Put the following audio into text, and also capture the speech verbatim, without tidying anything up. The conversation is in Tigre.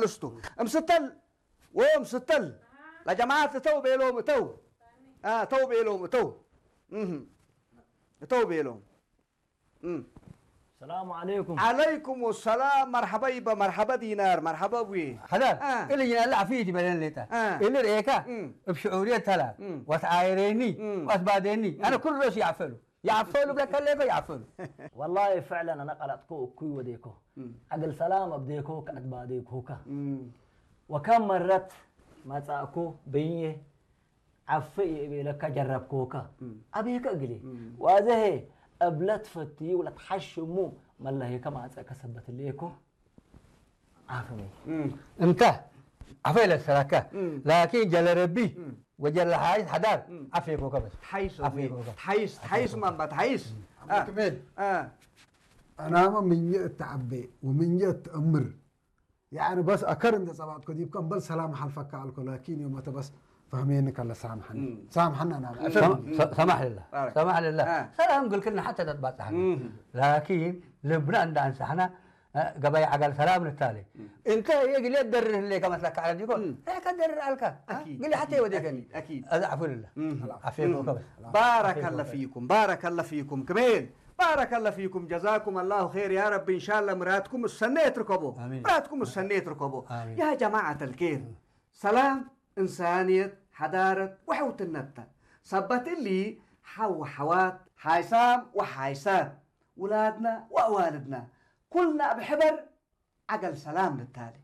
እስቱ። እምስተል ወእምስተል ለጀማዐት እተው ቤሎም እተው። አ፣ እተው ቤሎም እተው። እህ። እተው ቤሎም። እም። ሰላሙ ዐለይኩም። ዐለይኩም ሰላም። መርሐበ ይበ፣ መርሐበ ዲናር፣ መርሐበ አቡዬ። ሐዳር፣ አ። እሊ ጅናለ ዐፍየት ይበለን ሌጠ። አ። እሊ ርኤካ፣ እም። እብ ሽዑርየት ተላ፣ እም። ወትዓይሬኒ፣ እም። ወአትባዴኒ። እም። አነ ኩሉ ሮስ ይዐፈሉ። ይዐፈሉ ብለከ ሌኮ ይዐፈሉ። ወላሂ ፍዕለን አነ ቀለጥኮ እኩይ ወዴኮ። እም። ዐግል ሰላም አብዴኮ ከአትባዴኮከ። እም። ወከም መረት መጻእኮ በይኔ ዐፍ ኢእቤለከ ጀረብኮከ። እም። አቤከ እግሌ። እም። ዋዘሄ እብ ለትፈትዩ ለትሐሽሙ መለሄከ ማጸእከ ሰበት ሌኮ። አፍሜ። እም። እንተ ዐፈ ኢለሰለከ። እም። ላኪን ጀለ ረቢ እም። ወጀለ ሓይስ ሐዳር እም። ዐፌኮከ በስ። ተሐይስ አቡዬ። ዐፌኮከ። ተሐይስ፣ ተሐይስ ማንባ፣ ተሐይስ። አቡ አ። ክሜል። አ። አናመ ምንዬ እት ዐቤ ወምንዬ እት እምር ያኒ በስ አከር እንዴ ጸባጥኮ ዲብከ እምበል ሰላም ሐልፈከ አልኮ፣ ላኪን ዮመተ በስ ፈህሜኒ ከለ ሳምሐኒ። እም። ሳምሐኒ አናመ። እም። ሰማ-፣ ሰ-፣ ሰማሕ ልላህ። ባረክ። ሰማሕ ልላህ። አ። ሰላም ግልክልና ሐተ ተትባጽሐኒ። እም። ላኪን ልብና እንደ አንሳሕና፣ አ፣ ገበይ ዐገል ሰላም ንታሌ። እም። እንተ ህዬ ግሌ ደርር ህሌከ መስለከ ዐለ ዲኮ፣ እም። ሬከ ደርር አልከ። አ? አኪድ፣ ግሌ ሐቴ አኪድ፣ ወዴከኒ። አኪድ፣ አኪድ። አዚ ዐፉ ልላህ። እም። ዐፌኮከ እም። በስ። ባረከለ ዐፌኮከ። ፊኩም፣ ባረከለ ፊኩም ክሜል። ባረከለ ፊኩም፣ ጀዛኩም አላሁ ኸይር። ያ ረቢ፣ እንሻላ ምራትኩም እሰኔ እትርከቦ። አሚን። ምራትኩም እሰኔ እትርከቦ። አሚን። ያ ጀማዐተል ኬር፣ ሰላም፣ እንሳንየት፣ ሐዳረት ወሐውትነት ተ። ሰበት እሊ፣ ሐው ወሐዋት፣ ሓይሳም ወሓይሳት፣ ውላድና ወአዋልድና፣ ኩልና እብ ሕበር ዐገል ሰላም ንታሌ።